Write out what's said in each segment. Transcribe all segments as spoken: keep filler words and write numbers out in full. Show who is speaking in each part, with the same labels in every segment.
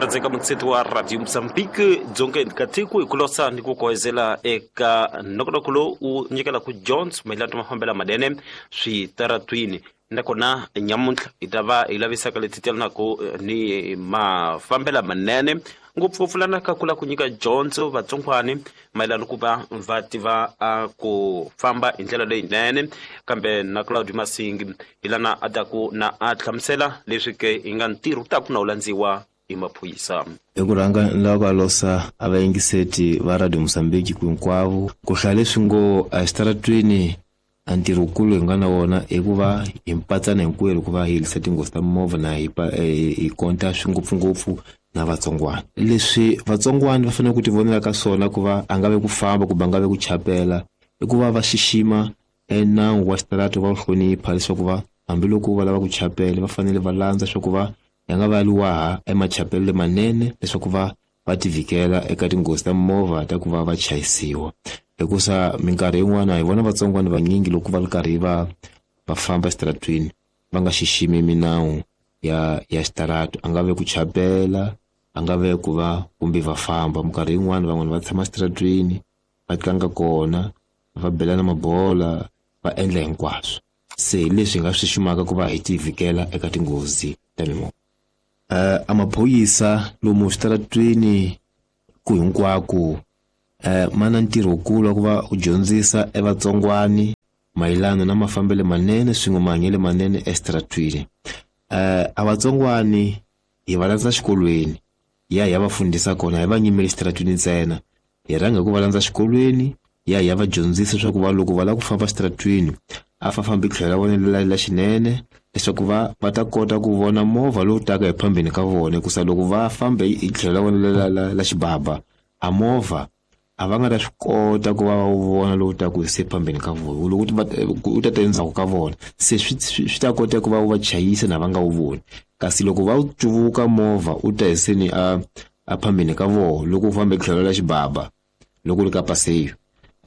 Speaker 1: Murhandzeka mutseti wa Radio Mozambique dzongeni ka tiko hi ku losa ni ku kohezela eka nongonoko lowu wu nyikelaka dyondzo mayelana na mafambelo manene switaratwini. Nakona nyamuntlha hi ta va hi lavisaka leti telanaka ni mafambelo manene ngopfungopfu lana ka ku lava ku nyika dyondzo vatsongwani mayelana ku va va tiva a ku famba hi ndlela leyinene. Kambe na Claudio Masingi hi lana a taku na a hlamusela leswi ke hi nga ntirho wu taku na wu landziwa hi maphorisa.
Speaker 2: Hi ku rhanga ni lava ku alosa a vayingiseti va Radio Mozambique ku hinkwavo ku hlaya leswi ngo exitaratweni a ntirho wukulu hi nga na wona i ku va hi mpatsana hinkwerhu ku va hi herisa tinghozi ta mimovha na hi hi konta swi ngopfungopfu na vatsongwana. Leswi vatsongwana va fanele ku ti vonela ka swona ku va a nga ve ku famba kumbe a nga ve ku chapela i ku va va xixima enawu wa xitarata, va wu hlonipha leswaku va hambiloko va lava ku chapela va fanele va landza swa ku va ya nga va liwaha emachapelo lemanene leswaku va va ti vhikela eka tinghozi ta mimovha ta ku va va chayisiwa. Hikusa minkarhi yin'wana hi vona vatsongwana vanyingi loko va ri karhi va va famba exitaratweni va nga xiximi minawu ya ya xitarata, a nga ve ku chapela, a nga ve ku va kumbe va famba. Minkarhi yin'wana van'wani va tshama exitaratweni va tlanga kona, va belana mabola, va endla hinkwaswo. Se hi leswi hi nga swi xiximaka ku va hi ti vhikela eka tinghozi ta mimovha. Uh, a maphorisa lomu switaratweni ku hinkwako uh, ma na ntirho wukulu wa ku va u dyondzisa evatsongwani mayelana na mafambelo manene swin'we mahanyelo manene exitaratweni. Uh, a vatsongwani hi va landza xikolweni ya hi ya va fundisa kona, hi va nyimeli exitaratweni ntsena, hi rhanga hi ku va landza xikolweni ya hi ya va dyondzisa leswaku va loko va lava ku famba exitaratweni a fa fambi tlhelo ra vona la la xinene leswaku va va ta kota ku vona movha lowu taka hi phambeni ka vona. Hikusa loko va fambe hi tlhelo ra vona la la la xibaba a movha a va nga ta swi kota ku va va wu vona lowu taka hi se phambeni ka vona, loko u ta ta endzhaku ka vona se swi swi ta kota ku va wu va chayisa na va nga wu voni. Kasi loko va wu cuvuka movha u ta hi seni a a phambeni ka vona loko u fambe tlhelo la xibaba loko u ri ka paseyo,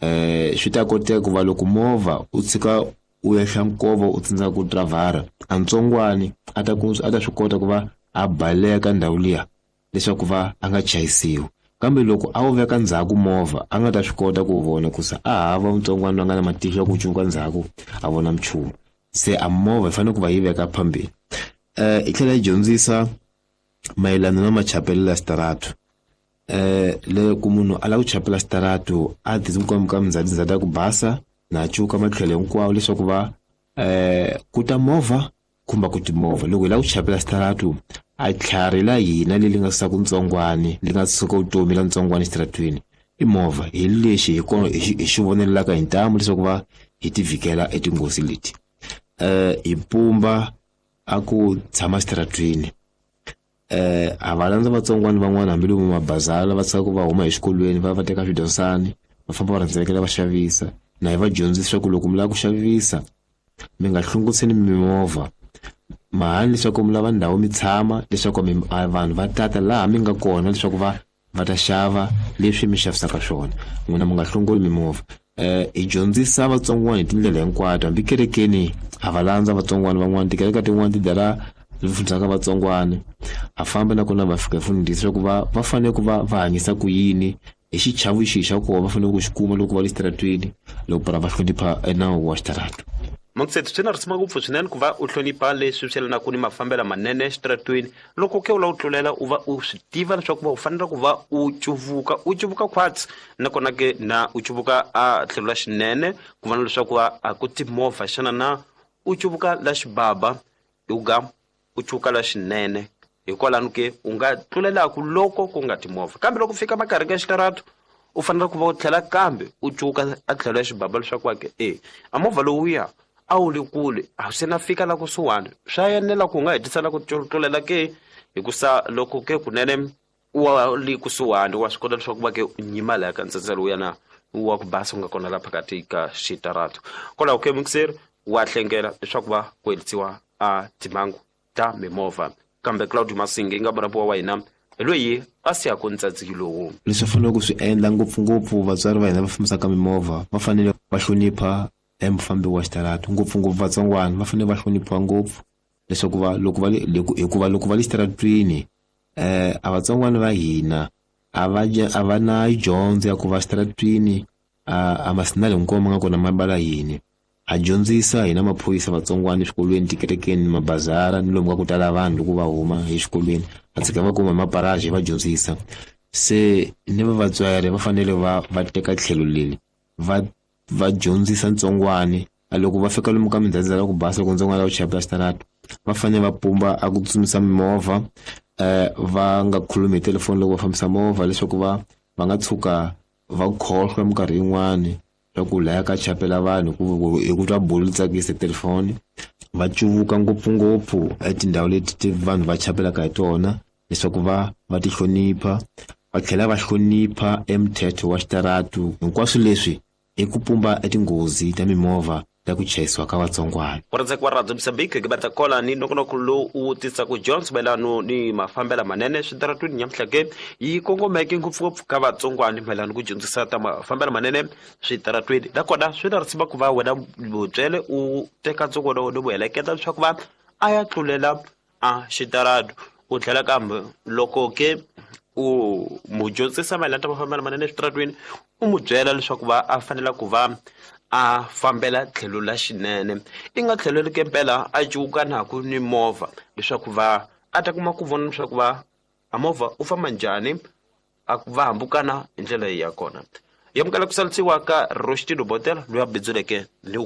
Speaker 2: eh swi ta koteka ku va loko movha u tshika u ehla nkova u tsandzeka ku dravhara a ntsongwani a ta ku a ta swi kota ku va a baleka ndhawu liya leswaku va a nga chayisiwi. Kambe loko a wu veka ndzhaku movha a nga ta swi kota ku vona kusa a hava ntsongwani loyi a nga na matihlo ya ku cuvuka ndzhaku a vona nchumu. Se a movha yi fanele ku va yi veka phambeni. Eh yi tlhela yi dyondzisa mayelana na machapelo ya xitarata. Eh loko munhu a lava ku chapela xitarata a ti ka mindzhawu ya ku basa na cuka matlhelo hinkwawo leswaku va eh ku ta movha kumbe ku timovha. Loko hi lava ku chapela xitarata a tlhari la hina leri nga suka ntsongwani li nga suka vutomi la ntsongwani exitaratweni i movha. Hi lexi hi kona hi xi vonelaka hi ntamu leswaku va hi ti vhikela etinghozi leti. Eh hi pumba a ku tshama exitaratweni. Eh a va landza vatsongwana van'wana hambiloko mabazala va tshika ku va huma exikolweni va va teka swidyondzani va famba va rhendzelekela va xavisa. Na hi va dyondzisa leswaku loko mi lava ku xavisa mi nga hlunguriseni mimovha, mahani leswaku mi lava ndhawu mi tshama leswaku vanhu va tata laha mi nga kona leswaku va va ta xava leswi mi xavisaka swona, n'wina mi nga hlongoli mimovha. Eh hi dyondzisa vatsongwana hi tindlela hinkwato, hambi kerekeni a va landza vatsongwana van'wana, tikereke tin'wana ti dara fundisaka vatsongwana a famba nakona va fika fundisa leswaku va va fanele ku va va hanyisa ku yini hi xichavo xihi xa kona va fanele ku xi kuma loko va le xitaratweni loko va hlonipha enawu wa xitarata.
Speaker 1: Mangsethu swi na risima ngopfu swinene ku va u hlonipha leswi swi yelanaka ni mafambelo manene exitaratweni. Loko ke u lava u tlulela u va u swi tiva leswaku va u fanele ku va u cuvuka u cuvuka khwatsi, nakona ke na u cuvuka a tlhelo la xinene ku vona leswaku a ku timovha xana na u cuvuka la xibaba uga u cuvuka la xinene. Hikwalano ke u nga tlulelaku loko ku nga timovha, kambe loko fika makarhi ka xitarata u fanele ku va u tlhela kambe u cuvuka a tlhelo ya xibaba leswaku wa ke e a movha lowuya a wu le kule a se na fika la kusuhani swa enela ku nga hetisela ku tlulela ke, hikusa loko ke kunene wa le kusuhani wa swi kota leswaku va ke u nyima laya ka ntsendzelo wuya na wa ku basa u nga kona la phakathi ka xitarata. Kwalaho ke mukiseri wa hlengela leswaku va ku herisiwa a timhangu ta mimovha. Kambe Claudio Masingi nga murhabiwa wa hina hi loyi a siyaka ntsadziki lowu.
Speaker 2: Leswi faneleke ku swi endla ngopfungopfu vatswari va hina va fambisaka mimovha va fanele va hlonipha emufambi wa xitarata, ngopfungopfu vatsongwana va fanele va hloniphiwa ngopfu leswaku va loko va le hikuva loko va le xitaratweni Eh a vatsongwana va hina a va a va na dyondzo ya ku va xitaratwini a a masinali hinkwawo ma nga kona ma bala yini. Ha dyondzisa hina maphorisa vatsongwana eswikolweni, tikerekeni, mabazara ni lomu ka ku tala vanhu loko va huma exikolweni, va tshika va kuma hi maparaji va dyondzisa. Se ni va vatswari va fanele va va teka tlhelo leri va va dyondzisa ntsongwani. Loko va fika lomu ka mindzhendzhe ya ku basa loko ntsongwana la ku chayela xitarata, va fanele va pumba a ku tsutsumisa mimovha, eh va nga khulumi hi telefoni loko va fambisa movha leswaku va va nga tshuka va khohlwa minkarhi yin'wani swa ku laya ka chapela vanhu ku hi ku twa bulu tsakisa telefoni. Va cuvuka ngopfungopfu etindhawu leti ti vanhu va chapelaka hi tona leswaku va va ti hlonipha, va tlhela va hlonipha emthetho wa xitaratu. Hinkwaswo leswi i ku pumba etinghozi ta mimovha ta ku chayisiwa ka vatsongwana.
Speaker 1: Ku wa Radio Mozambique ke batla kola ni nongonoko lowu wu tisaka dyondzo mayelano ni mafambelo manene switaratwini nyamuhla ke yi kongomeke ngopfungopfu ka vatsongwana mayelano ku dyondzisa ta mafambelo manene switaratwini. Nakona swi na risima ku va wena mutswele u teka ntsongwana wa wena u heleketa leswaku va a ya tlulela a xitaratu. U tlhela kambe loko ke u mu dyondzisa mayelana ta mafambelo manene switaratwini, u mu byela leswaku va a fanela ku va a fambela tlhelo la xinene, i nga tlhelo ke mpela a cuka naku ni movha leswaku va a ta kuma ku vona leswaku va a movha u famba njhani, a va hambukana hi ndlela ya kona. Yamukela ku salisiwa ka Rostino Botela loyi a bindzuleke ni